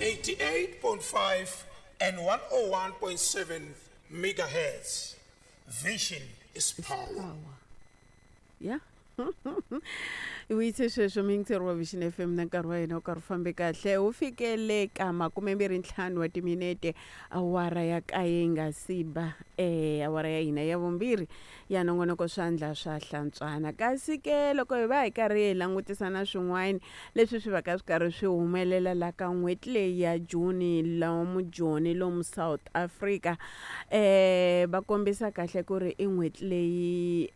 88.5 and 101.7 megahertz. Vision is power. Yeah. Vuyise sweswo muyingiseri wa Vision FM na nkarhi wa hina wu karhi wu fambe kahle wu fikele ka 25 wa timinete awara ya kaye yi nga si ba awara ya hina ya vumbirhi ya nongonoko swandla swa hlantswana kasi ke loko hi va hi karhi hi langutisa na swin'wana leswi swi va ka swi karhi swi humelela la ka n'hweti leyi ya June lomu Joni lomu South Africa va kombisa kahle ku ri i n'hweti leyi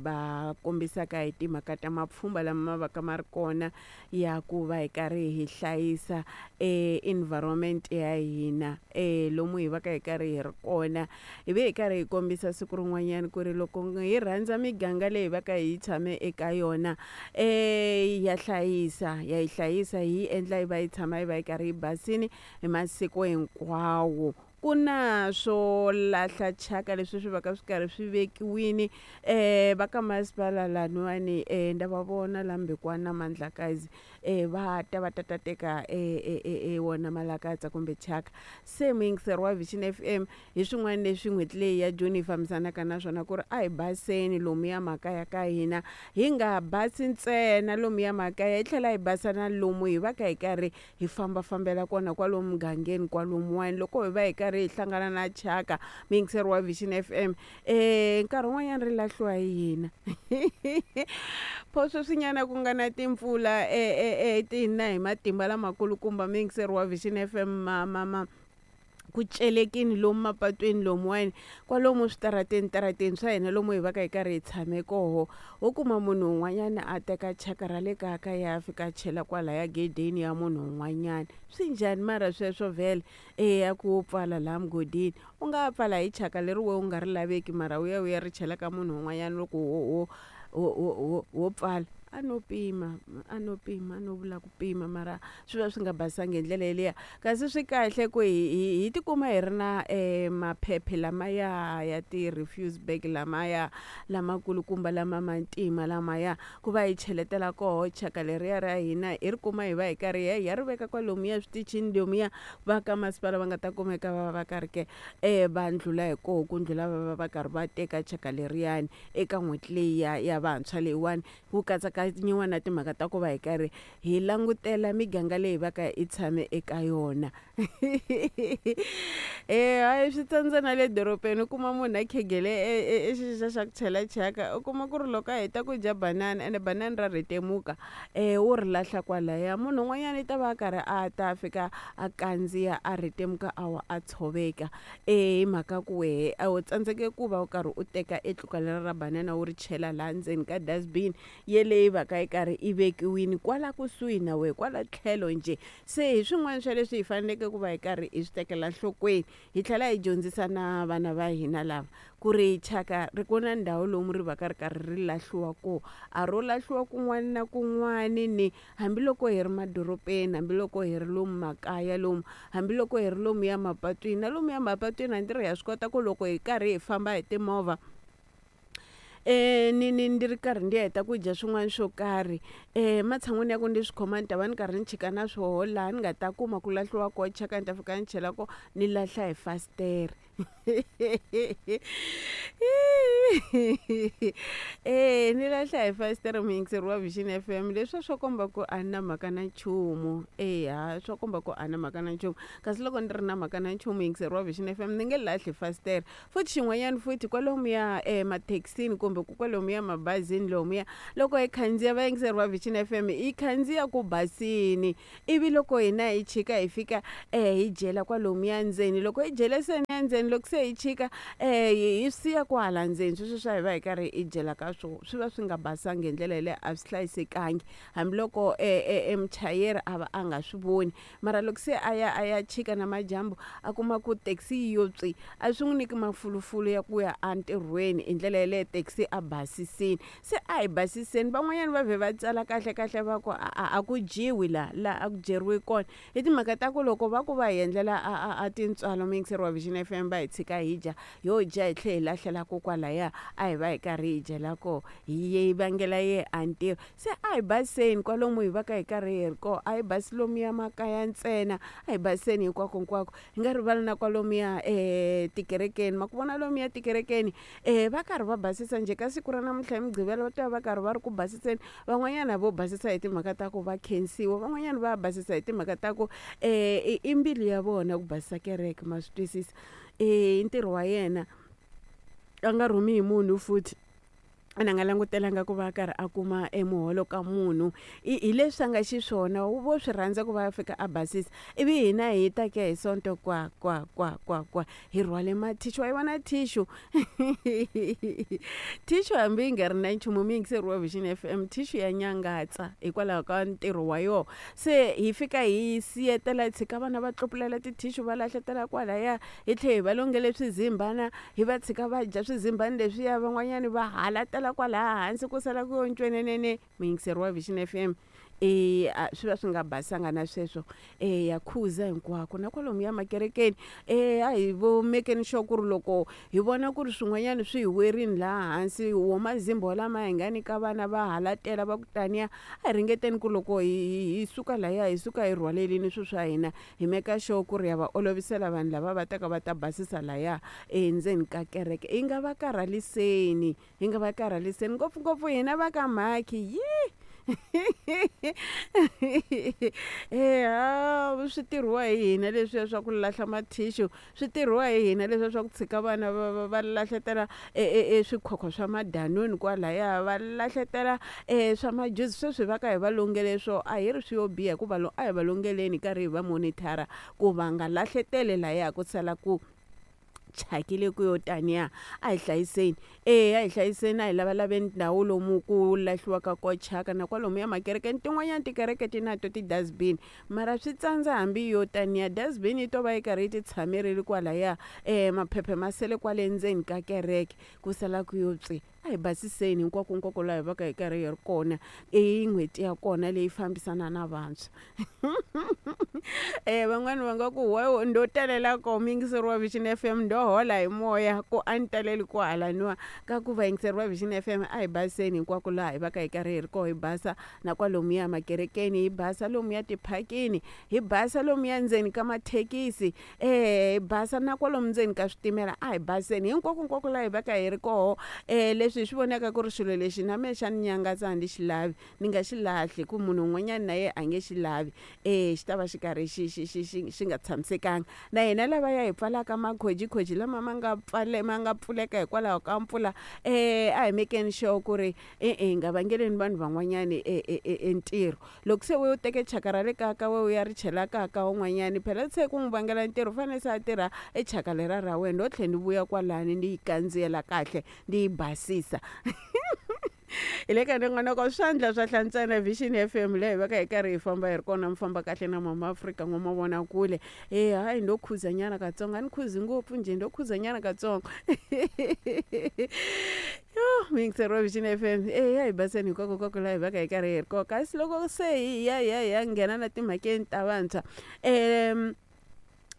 va kombisaka hi timhaka ta mapfhumba lama ma va ka ma ri kona ya ku va hi karhi hi hlayisa environment ya hina lomu hi va ka hi karhi hi ri kona hi ve hi karhi hi kombisa siku rin'wanyana ku ri loko hi rhandza miganga leyi va ka hi tshame eka yona ya hlayisa ya yi hlayisa hi yi endla yi va yi tshama yi va yi karhi yi basini hi masiku hinkwawo ku na swo lahla thyaka leswi swi va ka swi karhi swi vekiwini va ka masipala laniwani nda va vona la Mbekwana na Mandlakazi va ta va ta ta teka wona malakatsa kumbe thyaka se muyingiseri wa Vision F_M hi swin'wana leswi n'hweti leyi ya June yi fambisanaka na swona ku ri a hi baseni lomuya makaya ka hina hi nga basi ntsena lomuya makaya hi tlhela hi basa na lomu hi va ka hi karhi hi fambafambela kona kwalomu mugangeni kwalomuwani loko hi va hi karhi hi hlangana na thyaka muyingiseri wa Vision F_M nkarhi wun'wanyana ri lahliwa hi hina pho sweswinyana ku nga na timpfula ti na hi matimba lamakulukumba muyingiseri wa Vision F_M ma ma ma ku celekini lomu mapatwini lomuwani kwalomu switarateni tarateni swa hina lomu hi va ka hi karhi hi tshame koho wo kuma munhu un'wanyana a teka thyaka ra le kaya ka ya fika a chela kwalaya gedeni ya munhu un'wanyana swi njhani mara sweswo vhele eya ku wo pfala laha mugodini u nga pfala hi thyaka leri we u nga ri laveki mara u ya u ya ri chela ka munhu un'wanyana loko wo wo wo wo wo wo pfala a no pima a no pima a no vula ku pima mara swi va swi nga basangi hi ndlela yeliya kasi swi kahle ku hi hi hi tikuma hi ri na maphephe lamaya ya ti-refuse bag lamaya lamakulukumba lama ma ntima lamaya ku va hi cheletela koho thyaka leriya ra hina hi ri kuma hi va hi karhi hi ya ri veka kwalomuya eswitichini lomuya va ka masipala va nga ta kumeka va va karhi ke va ndlula hi koho ku ndlula va va va karhi va teka thyaka leriyani eka n'hweti leyi ya ya vantshwa leyiwani ku katsakanyiwa na timhaka ta ku va hi karhi hi langutela miganga leyi va ka hi tshame eka yona hayi swi tsandza na le dorobeni u kuma munhu a khegele e xixa xa ku chela thyaka u kuma ku ri loko a heta ku dya banana ene banana ra rhetemuka wo ri lahla kwalaya munhu un'wanyana i ta va a karhi a ta a fika a kandziya a rhetemuka a wa a tshoveka hi mhaka ku wehe a wu tsandzeke ku va u karhi u teka e tluka lera ra banana wu ri chela laha ndzeni ka dustbin yeleyi va ka yi karhi yi vekiwini kwala kusuhi na wehe kwala tlhelo njhe se hi swin'wana swa leswi hi faneleke ku va hi karhi hi swi tekela nhlokweni hi tlhela hi dyondzisa na vana va hina lava ku ri thyaka ri ku na ndhawu lomu ri va ka ri karhi ri lahliwa kona a ro lahliwa kun'wana na kun'wani ni hambiloko hi ri madorobeni hambiloko hi ri lomu makaya lomu hambiloko hi ri lomuya mapatwini na lomuya mapatwini a ndzi ri ha swi kota ku loko hi karhi hi famba hi timovha ni ni ndzi ri karhi ndzi heta ku dya swin'wana swo karhi ematshan'wini ya ku ndzi swi khoma ni ta va ni karhi ni chika na swoho laha ni nga ta kuma ku lahliwa koho thyaka ni ta fika ni chela kona ni lahla hi fasitere. E ni lahla hi fasitere muyingiseri wa Vision F_M leswiya swo komba ku a ni na mhaka na nchumu eya swo komba ku a na mhaka na nchumu kasi loko ni ri na mhaka na nchumu muyingiseri wa Vision F_M ni nge lahli fasitere futhi xin'wanyana futhi kwalomuya emathekisini kumbe kwalomuya mabazini lomuya loko hi khandziya vayingiseri va Vision F_M hi khandziya ku basini ivi loko hina hi chika hi fika hi dyela kwalomuya ndzeni loko hi dyele se ya ndzeni loko se hi chika hi siya kwahala ndzeni sweswo swa hi va hi karhi hi dyela ka swona swi va swi nga basangi hi ndlela yaleyo a swi hlayisekangi hambiloko e muchayeri a va a nga swi voni mara loko se a ya a ya chika namadyambu a kuma ku taxi yi yo tswi a swi n'wi nyiki mafulufulu ya ku ya entirhweni hi ndlela yaleyo taxi. se a basisini. Se a hi basiseni, van'wanyana va vhe va tsala kahle kahle va ku a ku dyiwi la laha a ku dyeriwi kona. Hi timhaka ta ku loko va ku va hi endlela a tintswalo muyingiseri wa Vision F_M va hi tshika hi dya, ho dya hi tlhela hi lahlela ko kwalaya a hi va hi karhi hi dyela kona, hi vangela yehe a ntirho. Se a hi baseni kwalomu hi va ka hi karhi hi ri kona, a hi basi lomuya makaya ntsena, a hi baseni hinkwakonkwako. Hi nga rivali na kwalomuya tikerekeni, ma ku vona lomuya tikerekeni va karhi va basisa njhe ka siku ra namuntlha hi Mugqivela va ta va va karhi va ri ku basiseni. Van'wanyana vo basisa hi timhaka ta ku va khensiwa, van'wanyana va basisa hi timhaka ta ku i mbilu ya vona ku basisa kereke, ma swi twisisa. I ntirho wa yena a nga rhumi hi munhu futhi, ene a nga langutelanga ku va a karhi a kuma e muholo ka munhu. Hi leswi a nga xiswona, vo swi rhandza ku va a fika a basisa. Ivi hina hi ta ke hi Sonto kwa kwa kwa kwa kwa hi rhwale mathixu, wa yi vona tissue? Tissue hambi yi nga ri na nchumu muyingiseri wa Vision F_M, tissue ya nyangatsa hikwalaho ka ntirho wa yona. Se hi fika hi siyetela hi tshika vana va tlupulela ti-tissue va lahletela kwalaya, hi tlhela hi va longele swizimbana hi va tshika va dya swizimbani leswiya, van'wanyani va halatela kwalaya hansi ku sala ku yo ncwenenene. Muyingiseri wa Vision F_M, swi va swi nga basanga na sweswo. Ya khuza hinkwako na kwalomuya makerekeni, a hi vo mekeni sure ku ri loko hi vona ku ri swin'wanyana swi hi werile laha hansi, wo mazimba lama hi nga nyika vana va halatela va ku taniya, a hi ringeteni ku loko hi suka lahaya hi suka hi rhwalelini swilo swa hina, hi meka sure ku ri ya va olovisela vanhu lava va taka va ta basisa lahaya endzeni ka kereke. Hi nga va karhaliseni, hi nga va karhaliseni ngopfungopfu hina va ka mhakhi yi eya swi tirhiwa hi hina leswiya swa ku lahla mathixu, swi tirhiwa hi hina leswiya swa ku tshika vana va lahletela e swikhwakhwa swa madanoni kwalaya, va lahletela swa majuzi. Sweswi hi va ka hi va longele swo a hi ri swi yo biha hikuva a hi va longeleni hi karhi hi va monitor-a ku va nga lahleteli lahaya ku sala ku thyakile ku yo taniya. A hi hlayiseni, eya a hi hlayiseni, a hi lavalaveni ndhawu lomu ku lahliwaka kona thyaka na kwalomuya makerekeni. Tin'wanyani tikereke ti na to ti-dustbin, mara swi tsandza hambi yo taniya dustbin yi to va yi karhi yi ti tshamerile kwalaya, maphepha ma sele kwale ndzeni ka kereke ku sala ku yo tswi. A hi basiseni hinkwakonkwako laha hi va ka hi karhi hi ri kona. I n'hweti ya kona leyi fambisana na vantshwa. Van'wani va nga ku we ndo talela koho muyingiseri wa Vision F_M ndo hola hi moya ku a ni taleli ko halaniwa. Ka ku vayingiseri va Vision F_M a hi baseni hinkwako laha hi va ka hi karhi hi ri koho, hi basa na kwalomuya makerekeni, hi basa lomuya tiphakini, hi basa lomuya ndzeni ka mathekisi, hi basa na kwalomu ndzeni ka switimela. A hi baseni hinkwakonkwako laha hi va ka hi ri koho. Leswi hi swi vonaka ku ri xilo lexi na mehe xa ni nyangatsa a ni xi lavi, ni nga xi lahli hi ku munhu un'wanyana na yena a nge xi lavi, xi ta va xi karhi xi xi xi xi xi nga tshamisekanga. Na hina lavaya hi pfalaka makhojikhoji lama ma nga ma nga pfuleka hikwalaho ka mpfula, a hi mekeni sure ku ri e-e hi nga vangeleni vanhu van'wanyani e ntirho. Loko se we u teke thyaka ra le kaya ka wena u ya ri chela kaya ka un'wanyani, phela se ku n'wi vangela ntirho u fanele se a tirha e thyaka leriya ra wena, ndo tlhela ni vuya kwalani ni yi kandziyela kahle ni yi basisa. Hi le ka nongonoko swandla swa hlantswana Vision F_M leyi hi va ka hi karhi hi famba hi ri kona mi famba kahle na Mama Afrika n'wamavonakule. E hayi ndo khuzanyana katsongo, a ni khuzi ngopfu njhe ndo khuzanyana katsongo. Yo muyingiseri wa Vision F_M, eya hi baseni hinkwakonkwako laha hi va ka hi karhi hi ri kona. Kasi loko se hi ya hi ya hi ya nghena na timhakeni ta vantshwa,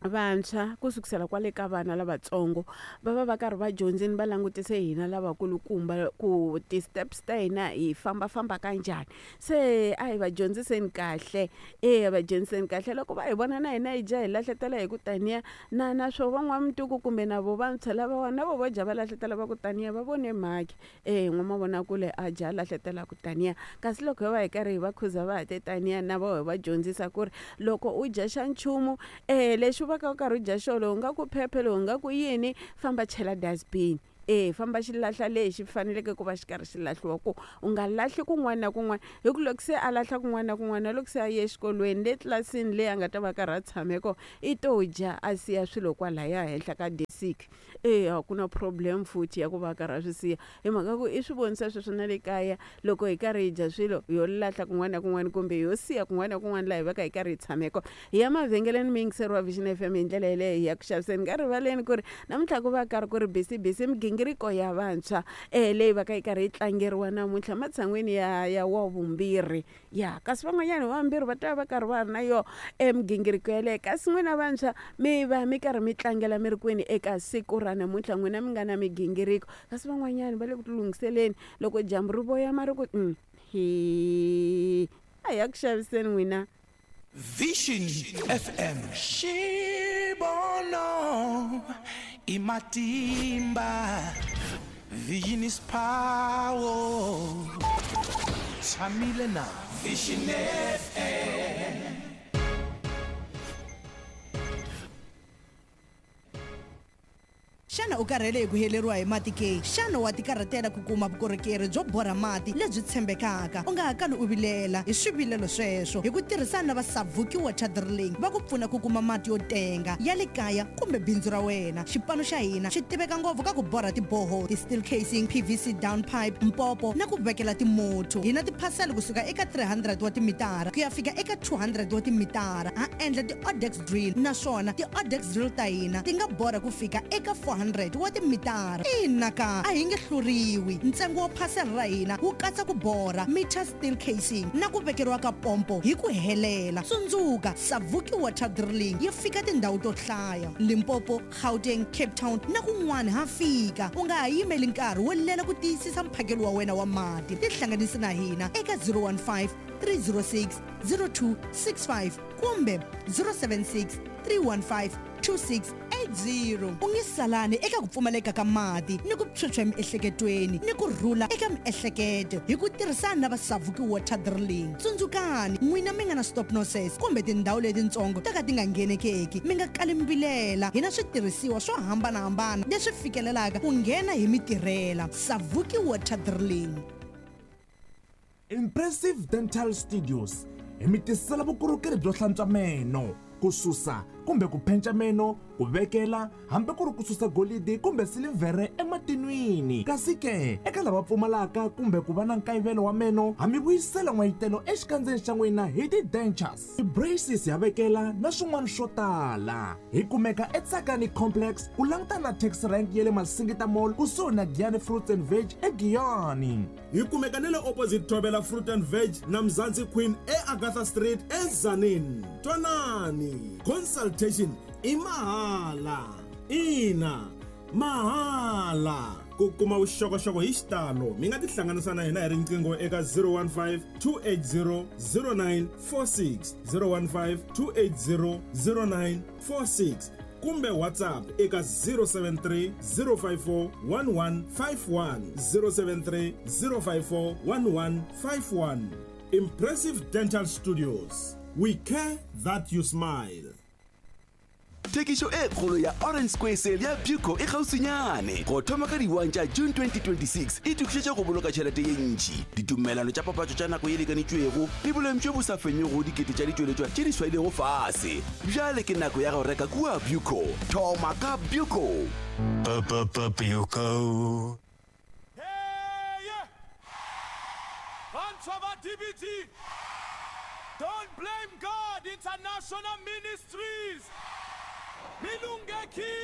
vantshwa ku sukusela kwale ka vana lavatsongo va va va karhi va dyondzini va langutise hina lavakulukumba ku ti-steps ta hina hi fambafamba ka njhani. Se a hi va dyondziseni kahle, eya va dyondziseni kahle loko va hi vona na hina hi dya hi lahletela hi ku taniya na na swo van'wamituku kumbe na vo vantshwa lavawa na vo vo dya va lahletela va ku taniya va vone mhakhi. E n'wamavonakule a dya a lahletela ku taniya, kasi loko ho va hi karhi hi va khuza va ha te taniya na vo hi va dyondzisa ku ri loko u dya xa nchumu lexi u va ka u karhi u dya xona lowu nga ku phephe lowu nga ku yini, famba chela dustbin. E famba xi lahla lexi faneleke ku va xi karhi xi lahliwa ku u nga lahli kun'wana na kun'wana, hi ku loko se a lahla kun'wana na kun'wana na loko se a ye exikolweni le tlilasini leyi a nga ta va karhi a tshame kona i to dya a siya swilo kwalaya henhla ka desiki. E a ku na problem futhi ya ku va a karhi a swi siya, hi mhaka ku i swi vonisa sweswo na le kaya loko hi karhi hi dya swilo ho lahla kun'wana na kun'wana kumbe ho siya kun'wana na kun'wana laha hi va ka hi karhi hi tshame kona. Hi ya mavhengeleni muyingiseri wa Vision F_M hi ndlela yeleyo hi ya ku xaviseni ka rivaleni ku ri namuntlha ku va karhi ku ri busy busy. migingiriko ya vantshwa leyi va ka yi karhi yi tlangeriwa namuntlha matshan'wini ya wa vumbirhi ya kasi van'wanyana vambirhi va ta va karhi va ri na yo emigingiriko yeleyo kasi n'wina vantshwa mi va mi karhi mi tlangela mi ri kwini eka siku ra namuntlha n'wina mi nga na migingiriko kasi van'wanyana va le ku tilunghiseleni loko dyambu ri voyama ri ku hi a ya ku xaviseni n'wina. Vision FM. Xivono i matimba. Vision is power. Tshamile na Vision FM. Xana u karhele hi ku heleriwa hi mati ke? Xana wa tikarhatela ku kuma vukorhokeri byo borha mati lebyi tshembekaka? U nga ha kali u vilela hi swivilelo sweswo. Hi ku tirhisana na va Savuki Water Drilling va ku pfuna ku kuma mati yo tenga ya le kaya kumbe bindzu ra wena. Xipano xa hina xi tiveka ngopfu ka ku borha tiboho, ti-steel casing, PVC down pipe, mpopo na ku vekela timotho. Hi na tiphasela kusuka eka 300 wa timitara ku ya fika eka 200 wa timitara. Ha endla ti-odex drill naswona ti-odex drill ta hina ti nga borha ku fika eka 400 wa timitara. Ina ka a hi nge hluriwi. Ntsengo wa phasela ra hina wu katsa ku borha, meter steel casing na ku vekeriwa ka pompo hi ku helela. Tsundzuka, Savuki Water Drilling yi fika tindhawu to hlaya: Limpopo, Gauteng, Cape Town na kun'wana ha fika. U nga ha yimeli nkarhi wo lela ku tiyisisa mphakelo wa wena wa mati. Tihlanganisi na hina eka 015 306 0265 kumbe 076 315 2680. U nge salani eka ku pfumaleka ka mati ni ku phyuphya emiehleketweni ni ku rhula eka miehleketo hi ku tirhisana na va Savuki Water Drilling. Tsundzukani, n'wina mi nga na stop nonsense kumbe tindhawu letitsongo to ka ti nga nghenekeki, mi nga kali mi vilela. Hi na switirhisiwa swo hambanahambana leswi fikelelaka ku nghena hi mitirhela. Savuki Water Drilling. Impressive Dental Studios hi mi tisela vukorhokeri byo hlantswa meno, ku susa kumbe ku phenca meno, ku vekela hambi ku ri ku susa golidi kumbe silivhere ematinwini. Kasi ke eka lava pfumalaka kumbe ku va na nkayivelo wa meno, ha mi vuyisela n'wayitelo exikandzeni xa n'wina hi ti-dentures, ti-braces ya vekela na swin'wana swo tala. Hi kumeka eTsakani Complex ku langutana na taxi rank ya le Masingita Mall kusuhi na Giyani Fruits and Veg eGiyani. Hi kumeka na le opposite Thobela Fruit and Veg na Mzansi Queen eAgatha Street eZanin. Twanani, consultation i mahala. Ina, mahala. Ku kuma vuxokoxoko hi xitalo mi nga tihlanganisa na hina hi riqingho eka 015 280 0946, 015 280 0946 kumbe WhatsApp eka 073 054 1151, 073 054 1151. Impressive Dental Studios. We care that you smile. Thekišo e kgolo ya Orange Square Sale ya Buco e kgauswinyane go thoma ka di-1 tša June 2026. E tokišetša go boloka tšhelete ye ntši, ditumelano tša papatšo tša nako ye lekanetšwego le boleng bjo bo sa fenyego dikete tša ditšweletšwa tše di swailego fase. Bjale ke nako ya go reka kua Buco. Thoma ka Buco. Buco. Bantshwa ba DBT, Don't Blame God International Ministries, Milungeki.